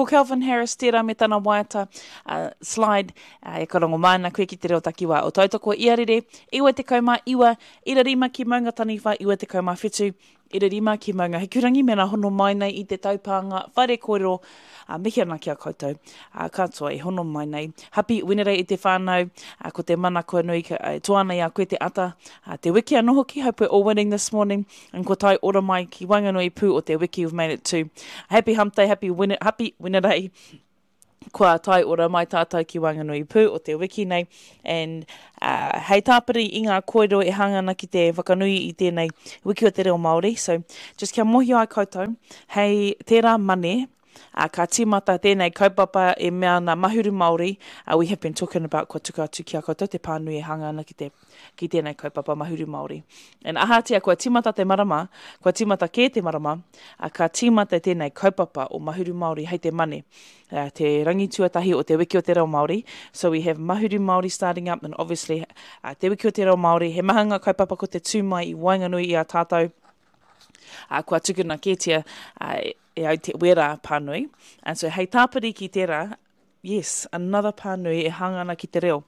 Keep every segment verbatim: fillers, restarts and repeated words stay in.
Ko Calvin Harris tērā me tana waiata uh, Slide, uh, e karongo mai ana koe ki te reo takiwā o Tautoko Iarere, iwa tekau mā iwa, ira rima ki Maungataniwha, iwa tekau mā whitu, ira rima ki Maungahikurangi, mena hono mai nei i te taupānga whare kōrero, uh, mihi ana ki a koutou uh, katoa e hono mai nei. Happy Wenerei i te whānau, uh, ko te mana kua nui, uh, toa ana i a koe te ata, uh, te wiki anō hoki, hope we're all winning this morning, and ko tai ora mai ki waenganui pū o te wiki, we've made it to. Happy hump day, happy, win happy Wenerei. Kua tai ora mai tātou ki waenganui pū o te wiki nei. And uh, hei tāpiri i ngā kōrero e hanga ana ki te whakanui i tēnei wiki o te reo Māori. So, just kia mōhio ai koutou, hei tērā mane, uh, ka tīmata tēnei kaupapa e mea ana Mahuru Māori. Uh, we have been talking about kua tuku atu ki a koutou te pānui e hanga ana ki, te, ki tēnei kaupapa Mahuru Māori. And ahatia kua tīmata te marama, kua tīmata kē te marama, uh, ka tīmata tēnei kaupapa o Mahuru Māori hei te mane. Uh, te rangi tuatahi o te wiki o te reo Māori. So we have Mahuru Māori starting up, and obviously uh, te wiki o te reo Māori, he maha ngā kaupapa ko te tū mai i waenganui i a tātou. Uh, kua tukuna kētia uh, e au te wera pānui. And so hei tāpiri ki tērā, yes, another pānui e hanga ana ki te reo.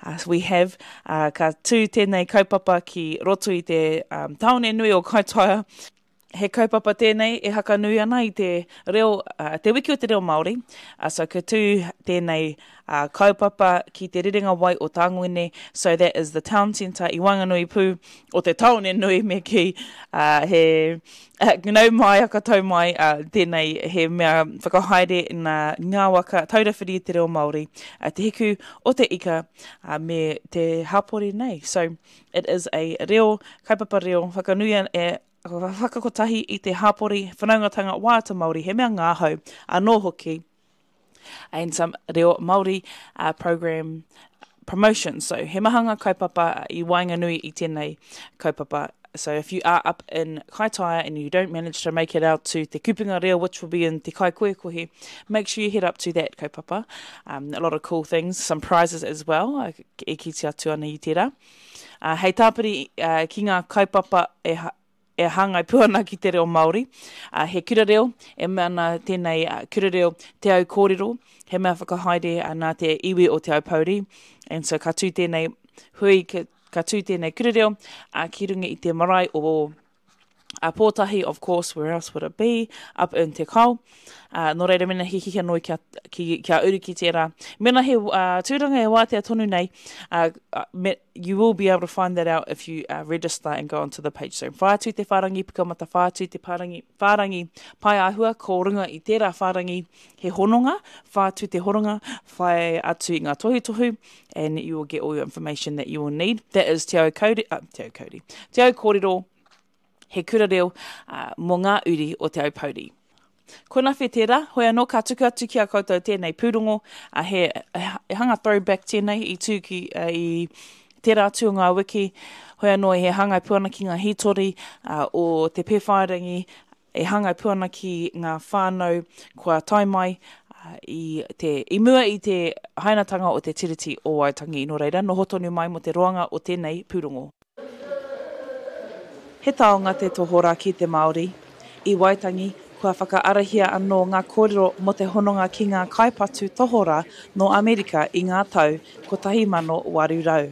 Uh, so we have, uh, ka tū tēnei kaupapa ki roto i te um, tāone nui o Kaitaia. He kaupapa tēnei e hakanui ana i te reo, uh, te wiki o te reo Māori. Uh, so ka tū tēnei uh, kaupapa ki te rerenga wai o Tāngwene. So that is the town centre i waenganui pū o te tāone nui me ki uh, he uh, nau mai, akatau mai, uh, tēnei he mea whakahaere nā ngā waka taurawhiri i te reo Māori, uh, te hiku o te ika uh, me te hapori nei. So it is a reo, kaupapa reo, whakanui e whakakotahi i te hapori whanaungatanga waiata Māori, he mea ngāhau anō hoki, and some reo Māori uh, program promotion. So he maha ngā kaupapa i waenganui i tēnei kaupapa. So if you are up in Kaitaia and you don't manage to make it out to Te Kupenga Reo, which will be in Te Kaikohekohe, make sure you head up to that kaupapa. Um, a lot of cool things, some prizes as well, e kite atu ana i tērā. Uh, hei tāpiri uh, ki ngā kaupapa e, e hāngai pū ana ki te reo Māori. Uh, he kura reo, e mea ana tēnei uh, kura reo Te Au Kōrero, he mea whakahaere uh, nā te iwi o Te Aupōuri. And so ka tū tēnei hui, ka, ka tū tēnei kura reo uh, ki runga i te marae o uh, Pōtahi, of course, where else would it be, up in Te Kao. Uh, nō reira mena he hihia noi kia, ki, kia uru ki tērā. Mena he uh, tūranga e wātea tonu nei, uh, me, you will be able to find that out if you uh, register and go onto the page. So whai atu te whārangi pukamata, whai atu te whārangi, whārangi pai āhua, ko runga i tērā whārangi he hononga, whai atu te hononga, whai atu i ngā tohutohu, and you will get all your information that you will need. That is Te Au Kauri, uh, Te Au Kauri, Te Au Kōrero, he kura reo uh, mō ngā uri o Te Aupōuri. Ko nawhe tērā, hoi anō ka tuku atu ki a koutou tēnei pūrongo, uh, he, he hanga throwback tēnei i tū ki, uh, i tērā atu o ngā wiki, hoi anō he hāngai pū ana ki ngā hītori uh, o te Pēwhairangi, e hāngai pū ana ki ngā whānau kua tae mai uh, i, te, i mua i te hainatanga o te Tiriti o Waitangi. Nō reira, noho tonu mai mō te roanga o tēnei pūrongo. He taonga te tohora ki te Māori. I Waitangi, kua whakaarahia anō ngā kōrero mō te hononga ki ngā kaipatu tohora nō Amerika i ngā tau kotahi mano waru rau.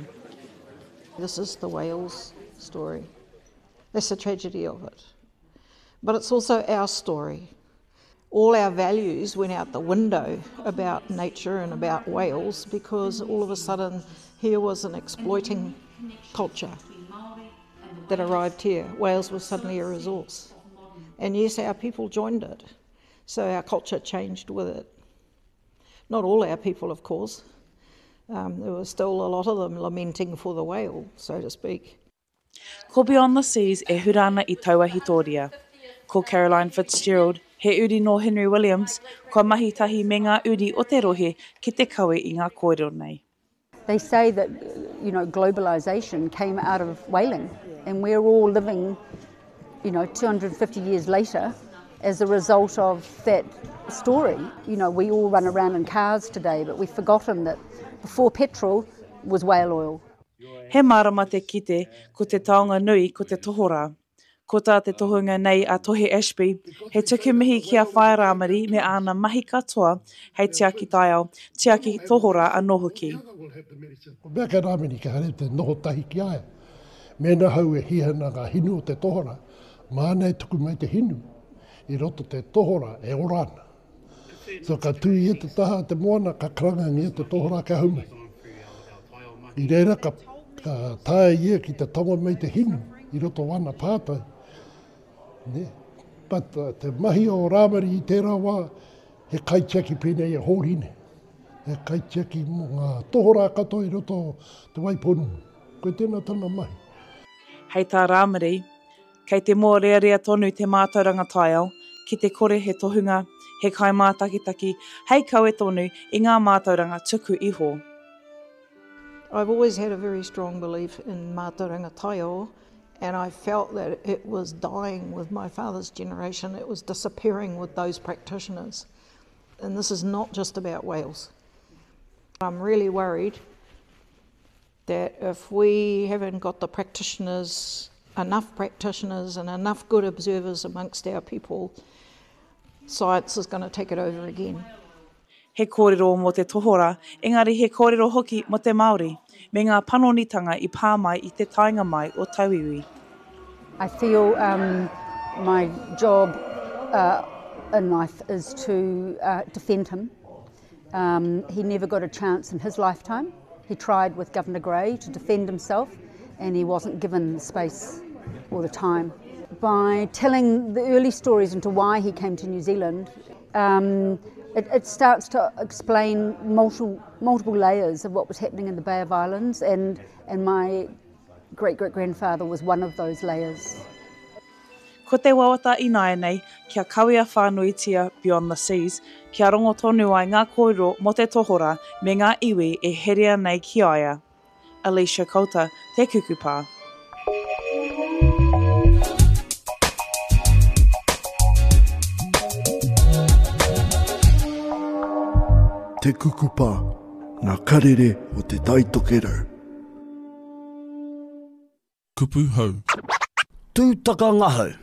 This is the whales story. That's the tragedy of it. But it's also our story. All our values went out the window about nature and about whales because all of a sudden here was an exploiting culture that arrived here. Whales was suddenly a resource. And yes, our people joined it. So our culture changed with it. Not all our people, of course. Um, there were still a lot of them lamenting for the whale, so to speak. Ko Beyond the Seas e hura ana i taua hitoria. Ko Caroline Fitzgerald, he uri nō Henry Williams, kua mahi tahi me ngā uri o te rohe ki te kawe i ngā kōrero nei. They say that, you know, globalization came out of whaling, and we're all living, you know, two hundred and fifty years later as a result of that story. You know, we all run around in cars today, but we've forgotten that before petrol was whale oil. He mārama te kite, ko te taonga nui, ko te tohorā. Ko tā te tohunga nei a Tohe Ashby, he tuku mihi ki a Whaea Rāmari me āna mahi katoa hei tiaki taiao, tiaki tohorā anō hoki. Ko mea kei Rāmiri ka haere te noho tahi ki a ia. Mēnā hau e hia ana ngā hinu o te tohorā, māna e tuku mai te hinu i roto te tohorā e ora ana. So ka tū ia te taha o te moana, ka karangangia te tohorā kia hau mai. I reira ka, ka taea ia ki te tango mai te hinu i roto o ana pātai. Ne? But uh, te mahi o Rāmari i tērā wā, he kaitiaki pēnei e Hōrine. He kaitiaki mō ngā tohorā katoa i roto o Te Waipounamu. Koe tēnā tana mahi. Hei tā Rāmari, kei te mōrearea tonu te mātauranga taiao, ki te kore he tohunga, he kaimātakitaki, hei kawe tonu i ngā mātauranga tuku iho. I've always had a very strong belief in mātauranga taiao, and I felt that it was dying with my father's generation. It was disappearing with those practitioners. And this is not just about whales. I'm really worried that if we haven't got the practitioners, enough practitioners and enough good observers amongst our people, science is going to take it over again. He kōrero mō te tohorā, engari he kōrero hoki mō te Māori, me ngā panonitanga i pā mai i te taenga mai o tauiwi. I feel um, my job uh, in life is to uh, defend him. Um, he never got a chance in his lifetime. He tried with Governor Grey to defend himself, and he wasn't given the space or the time. By telling the early stories into why he came to New Zealand, um, it, it starts to explain multiple, multiple layers of what was happening in the Bay of Islands, and, and my great-great-grandfather was one of those layers. Ko te wawata ināianei, kia kawea whānuitia Beyond the Seas, kia rongo tonu ai ngā kōrero mō te tohorā me ngā iwi e herea nei ki a ia. Alicia Coulter, Te Kukupa. Te Kukupa, ngā karere o te Tai Tokerau. Kupu hou. Tūtakangahau.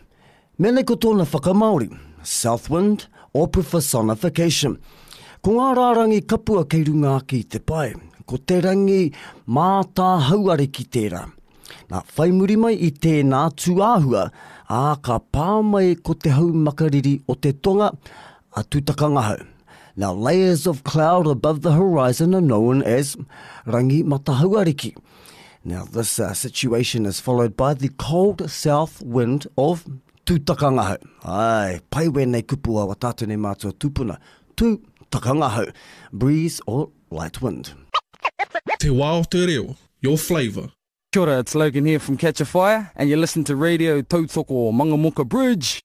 Mene ko tōna whakamāori, Southwind or personification. Ko ngā rārangi kapua kei runga ake i te pae, ko te rangi mātāhauariki tērā. Nā, whai muri mai i tēnā tūāhua, ā, ka pā mai ko te hau makariri o te tonga, a Tūtakangahau. Now, layers of cloud above the horizon are known as rangi matahauariki. Now, this uh, situation is followed by the cold south wind of Tūtakangahau. Ai, pai wēnei kupu a wa tātou nei mātua tūpuna. Tūtakangahau, breeze or light wind. Te wā o te reo, your flavour. Kia ora, it's Logan here from Catch a Fire, and you listen to Radio Tautoko Mangamuka Bridge.